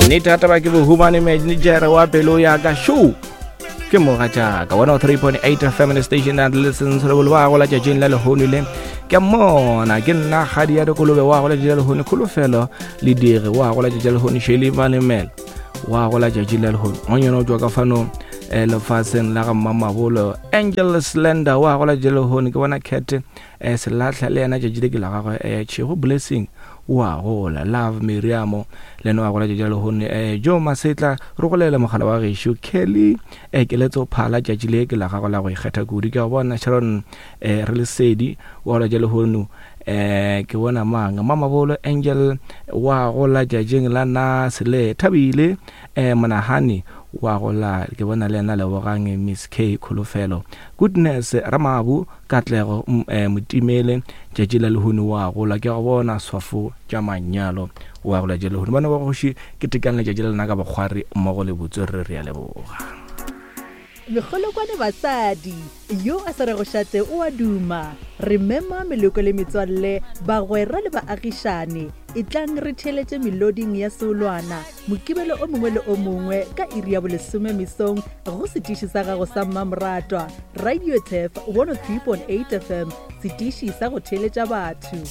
Nnete ya taba ke bohumane manager wa pelo ya ka show ke mogatšaka 103.8 FM the station that listens re bolo ba gola tšatšing la lehono le ke mona ke nna kgadi ya dikolobe wa gola tšatši la lehono kholofelo le dire wa gola tšatši la lehono sheli manemela wa gola tšatši la lehono ngwanyana o tšwa ka fano eh, lefaseng la ga mmamabolo angel slender wa gola tšatši la lehono ke bona cat eh, selahla le yena tšatši le ke la gagwe eh, tšhego blessing o a gola love miriamo le ena wa gola tšatši la lehono eh, jo masetla re golela mogala wa gešo kelly eh, keletso phala tšatši le ke la gago la go ikgetha kudu ke a bona sharon eh, re lesedi wa gola tša lehono eh ke bona mang mamabolo angel wa gola tšatšing la nase le thabile eh monagane wa gola ke bona le yena lebogang miss k kholofelo goodness ramabu Katlego Motimele, tšatši la lehono wa gola ke go bona swafo tša manyalo wa gola tša lehono. Bana ba kgoši ke tekang letšatši la lena ka bokgwari mmogo le botswerere re a leboga. Mekgolokwane basadi, yo a sa rego šate o a duma. Re mema meloko le metswalle, bagwera le baagišane, etlang re theeletše meloding ya seolwana Mokibelo o mongwe le o mongwe ka iri ya bolesome mesong go setiši sa gago sa mmamoratwa, Radio Turf 103.8 FM, setiši sa go theeletša batho.